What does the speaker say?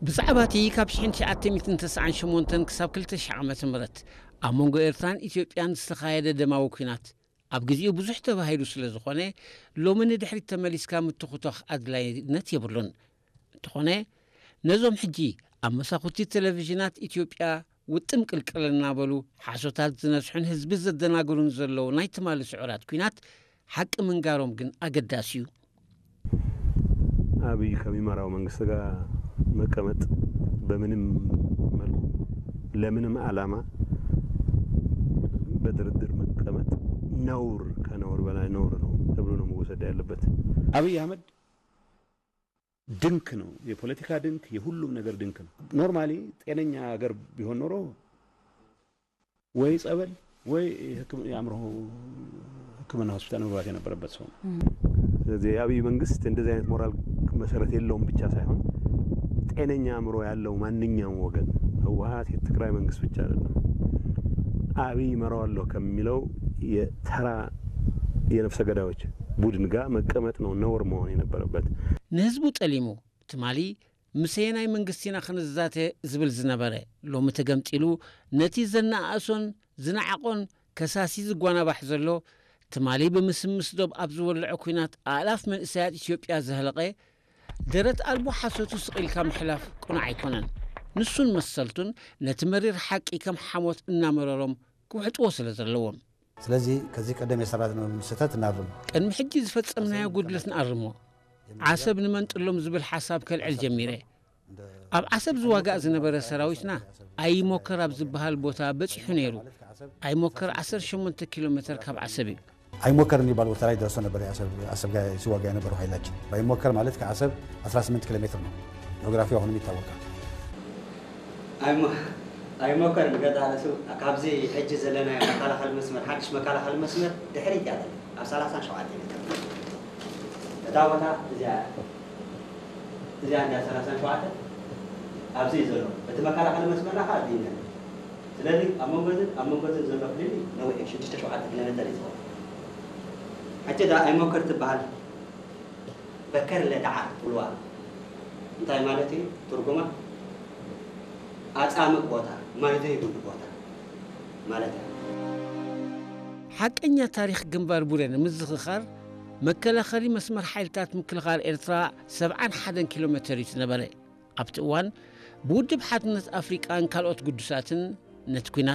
ብዛዕባ እቲ ካብ ሽሕን ትሽዓተ ሚእትን ተስዓን ሸሞንተን ክሳብ ክልተ ሽሕ ዓመተ ምህረት ኣብ መንጎ ኤርትራን ኢትዮጵያን ዝተኻየደ ደማዊ ኲናት፣ ኣብ ግዜኡ ብዙሕ ተባሂሉ ስለ ዝኾነ፣ ሎሚ ንድሕሪት ተመሊስካ ምትኹቷኽ ኣድላይነት የብሉን። እንተኾነ፣ ነዞም ሕጂ ኣብ መሳኹቲ ቴሌቪዥናት ኢትዮጵያ ውጥም ቅልቅል እናበሉ ሓሶታት ዝነዝሑን ህዝቢ ዘደናግሩን ዘለዉ ናይ ትማሊ ስዑራት ኲናት ሓቂ ምንጋሮም ግን ኣገዳሲ እዩ። አብይ ከሚመራው መንግስት ጋር መቀመጥ በምንም መልኩ ለምንም ዓላማ በድርድር መቀመጥ ነውር፣ ከነውር በላይ ነውር ነው ተብሎ ነው መወሰድ ያለበት። አብይ አህመድ ድንክ ነው፣ የፖለቲካ ድንክ፣ የሁሉም ነገር ድንክ ነው። ኖርማሊ ጤነኛ ሀገር ቢሆን ኖሮ ወይ ጸበል ወይ የአእምሮ ሕክምና ሆስፒታል መግባት የነበረበት ሰው ነው። ስለዚህ የአብይ መንግስት እንደዚህ አይነት ሞራል መሰረት የለውም ብቻ ሳይሆን ጤነኛ አእምሮ ያለው ማንኛውም ወገን፣ ህወሓት፣ የትግራይ መንግስት ብቻ አይደለም፣ አብይ እመራዋለሁ ከሚለው የተራ የነፍሰ ገዳዮች ቡድን ጋር መቀመጥ ነው ነውር መሆን የነበረበት። ንህዝቡ ጠሊሙ ትማሊ ምሰየናይ መንግስቲ ኢና ክንዛተ ዝብል ዝነበረ፣ ሎሚ ተገምጢሉ ነቲ ዘነኣእሶን ዝነዓቖን ከሳሲ ዝጓናባሕ ዘሎ፣ ትማሊ ብምስምስ ዶብ ኣብ ዝወልዖ ኲናት ኣእላፍ መንእሰያት ኢትዮጵያ ዘህለቐ፣ ደረት ኣልቦ ሓሶቱ ስቕ ኢልካ ምሕላፍ ቅኑዕ ኣይኮነን። ንሱን መሰልቱን ነቲ መሪር ሓቂ ከም ሓሞት እናመረሮም ክውሕጥዎ ስለ ዘለዎም። ስለዚህ ከዚህ ቀደም የሰራነውን ስህተት እናርም። ቅድሚ ሕጂ ዝፈጸምናዮ ጉድለት ንኣርሞ። ዓሰብ ንመንጥሎም ዝብል ሓሳብ ከልዕል ጀሚረ። ኣብ ዓሰብ ዝዋጋእ ዝነበረ ሰራዊትና ኣይሞከር ኣብ ዝበሃል ቦታ በጺሑ ነይሩ። ኣይሞከር ዓሰርተ ሸሞንተ ኪሎ ሜትር ካብ ዓሰብ እዩ። አይሞከር የሚባል ቦታ ላይ ደርሶ ነበር። የአሰብ አሰብ ጋር ሲዋጋ የነበረው ኃይላችን በአይሞከር ማለት ከአሰብ አስራ ስምንት ኪሎ ሜትር ነው። ጂኦግራፊው አሁንም ይታወቃል። ኣይሞ- ኣይሞከርን ገዛ ርእሱ ካብዚ ሕጂ ዘለናዮ መከላኸሊ መስመር ሓድሽ መከላኸሊ መስመር ድሕሪት እያ ዘላ ኣብ ሰላሳን ሸውዓተን ሜትር። እታ ቦታ እዚኣ እያ። እዚኣ እንዳ ሰላሳን ሸውዓተን ኣብዚ እዩ ዘሎ። እቲ መከላኸሊ መስመርና ከዓ ኣብዚ እዩ ነይሩ። ስለዚ ኣብ መንጎ እዝን ኣብ መንጎ እዝን ዘሎ ፍልልይ ነዊሕ እዩ፣ ሽዱሽተ ሸውዓተ ኪሎ ሜተር እዩ ዝኸውን። ሕጂ እዛ ኣይሞከር ትበሃል በከር ለዳዓ ትብልዋ እንታይ ማለት እዩ ትርጉማ? ኣጻምእ ቦታ፣ ማይ ዘይብሉ ቦታ ማለት እዩ። ሓቀኛ ታሪኽ ግንባር ቡሬ ንምዝኽኻር፣ መከላኸሊ መስመር ሓይልታት ምክልኻል ኤርትራ ሰብዓን ሓደን ኪሎ ሜተር እዩ ዝነበረ። ኣብቲ እዋን ብውድብ ሓድነት ኣፍሪቃን ካልኦት ግዱሳትን ነቲ ኲናት